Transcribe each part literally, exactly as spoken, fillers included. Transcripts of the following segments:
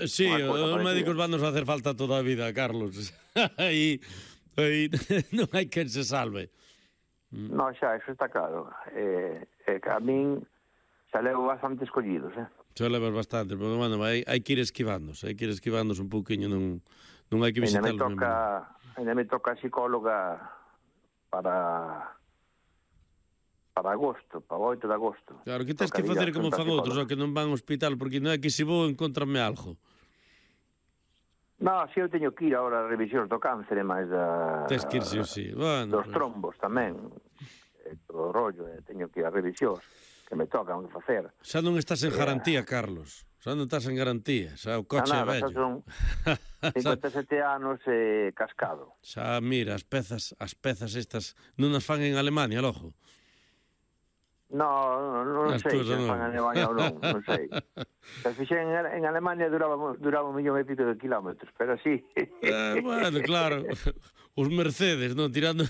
Sí, os médicos van nos facer falta toda a vida, Carlos. Aí, aí non hai quen se salve. No, xa, eso está claro. Eh, eh, a min xa levo bastante escollidos, eh? Xa levas bastante, pero, bueno, hai, hai que ir esquivándose, hai que ir esquivándose un pouquiño, non, non hai que visitarlos. Ainda me toca, ainda me toca psicóloga para... para agosto, para o oito de agosto. Claro, que tens que facer como fan outros, que non van ao hospital, porque non é que se vou encontrarme algo. No, si eu teño que ir agora a revisións do cáncer e máis da... Tens que ir, si, si. Bueno, dos trombos tamén, e todo o rollo, e teño que ir a revisións, que me tocan que facer. Xa non estás en garantía, Carlos. Xa non estás en garantía, xa o coche é vello. Xa son cincuenta e sete anos e cascado. Xa, mira, as pezas, as pezas estas non as fan en Alemania, lojo. No, non, non sei se no. fan en Alemania ou non, non sei. Se fixen en, en Alemania duraba, duraba un millón e pico de kilómetros, pero sí. Eh, bueno, claro, os Mercedes, non, tirando...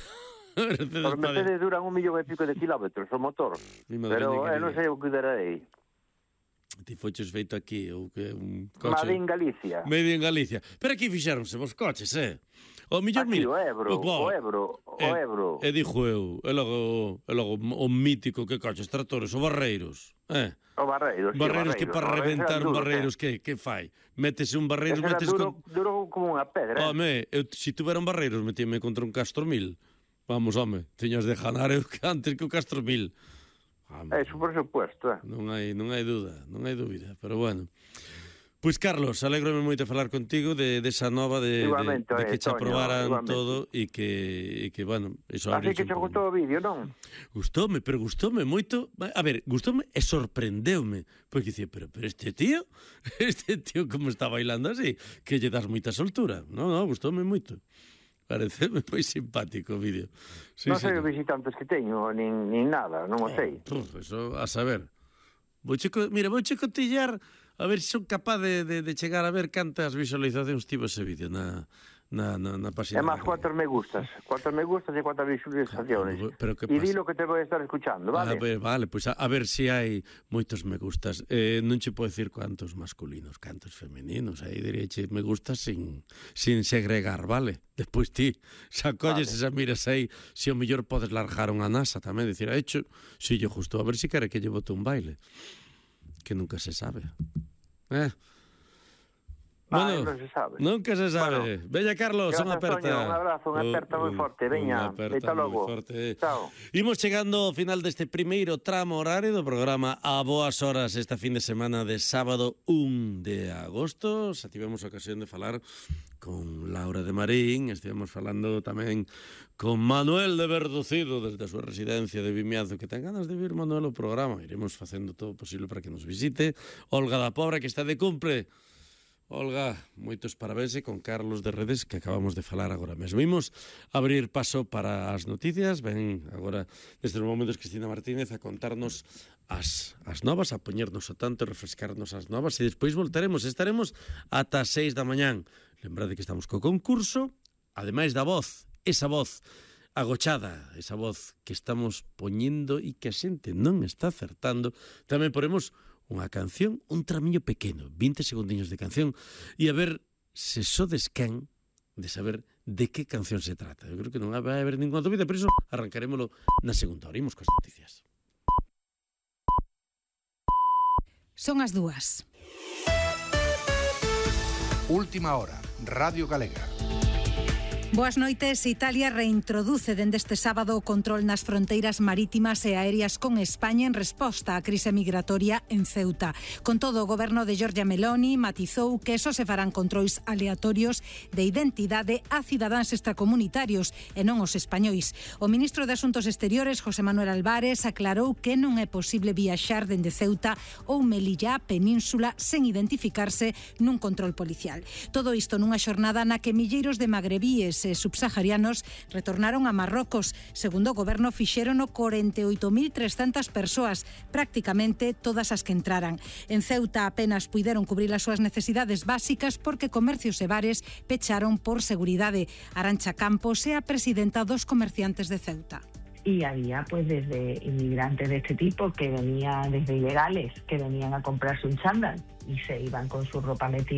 Mercedes os Mercedes duran un millón e pico de kilómetros, o motor, pero eh, non sei o que darei. Ti foches feito aquí, ou que un coche... Made en Galicia. Made en Galicia. Pero aquí fixéronse vos coches, eh? O millor aquí, mil... o Ebro, o, o Ebro, o e, Ebro. E dixo eu, e logo, e logo o mítico que coches, tractores, o Barreiros, eh? O Barreiros, sí, Barreiros, o que para reventar un Barreiros, que, que fai? Métese un Barreiros, metes duro, con... duro como unha pedra. Home, eu, se tuvera un Barreiros, metíame contra un Castro mil. Vamos, home, teñas de ganar eu antes que o Castro mil. Home, eso por supuesto, eh? Non hai, non hai dúda, non hai dúbida, pero bueno... Pois, Carlos, alégrome moito falar contigo de, de esa nova de, de, de que che aprobaran todo e que, e que, bueno... Eso así que che gustou o vídeo, non? Gustoume, pero gustoume moito... A ver, gustoume e sorprendeume. Porque dicía, pero, pero este tío, este tío como está bailando así, que lle das moita soltura. Non, non, gustoume moito. Pareceme moi simpático o vídeo. Sí, non sei sí, os visitantes que teño, nin, nin nada, non o sei. Puf, eso, a saber. Vou checo, mira, vou checotillar a ver se son capaz de, de, de chegar a ver cantas visualizacións tivo ese vídeo na, na, na, na página. É máis cuantos me gustas, cuantos me gustas e cuantas visualizacións. E di lo que te vou estar escuchando, vale? A ver, vale, pois pues a, a ver se si hai moitos me gustas. Eh, non che podo decir cuantos masculinos, cantos femininos, aí diríache me gustas sin, sin segregar, vale? Despois ti, xa colles vale. E xa miras aí, se o mellor podes largar unha nasa tamén, dicir, ha hecho, si yo justo, a ver se si quere que lle bote un baile. Que nunca se sabe. Eh? Bueno, ah, non se sabe. Nunca se sabe. Bueno, veña, Carlos, unha aperta. Un abrazo, unha aperta moi forte. Veña, aperta logo. Forte. Chao. Imos chegando ao final deste primeiro tramo horario do programa A Boas Horas esta fin de semana de sábado un de agosto. Xa tivemos ocasión de falar con Laura de Marín, estivemos falando tamén con Manuel de Verducido desde a súa residencia de Vimianzo, que ten ganas de vir Manuel ao programa. Iremos facendo todo o posible para que nos visite. Olga da Pobra, que está de cumple. Olga, moitos parabéns e con Carlos de Redes, que acabamos de falar agora mesmo. Imos abrir paso para as noticias. Ven agora, desde os momentos, Cristina Martínez a contarnos as, as novas, a poñernos ao tanto e refrescarnos as novas, e despois voltaremos, estaremos ata as seis da mañán. Lembrade que estamos co concurso, ademais da voz, esa voz agochada, esa voz que estamos poñendo e que a xente non está acertando, tamén poremos unha canción, un tramiño pequeno, vinte segundiños de canción, e a ver se sodes quen de saber de que canción se trata. Eu creo que non vai haber ninguna dúbida, por iso arrancarémolo na segunda hora. Imos coas noticias. Son as dúas. Última hora, Radio Galega. Boas noites. Italia reintroduce dende este sábado o control nas fronteiras marítimas e aéreas con España en resposta á crise migratoria en Ceuta. Con todo, o goberno de Giorgia Meloni matizou que só se farán controis aleatorios de identidade a cidadáns extracomunitarios e non os españois. O ministro de Asuntos Exteriores, José Manuel Álvarez, aclarou que non é posible viaxar dende Ceuta ou Melilla á península sen identificarse nun control policial. Todo isto nunha xornada na que milleiros de magrebíes e subsaharianos retornaron a Marrocos. Segundo o goberno, fixérono corenta e oito mil trescentas persoas, prácticamente todas as que entraran. En Ceuta apenas puideron cubrir as súas necesidades básicas porque comercios e bares pecharon por seguridade. Arantxa Campos é a presidenta dos comerciantes de Ceuta. Y había pues desde inmigrantes de este tipo que venían, desde ilegales, que venían a comprarse un chándal y se iban con su ropa metida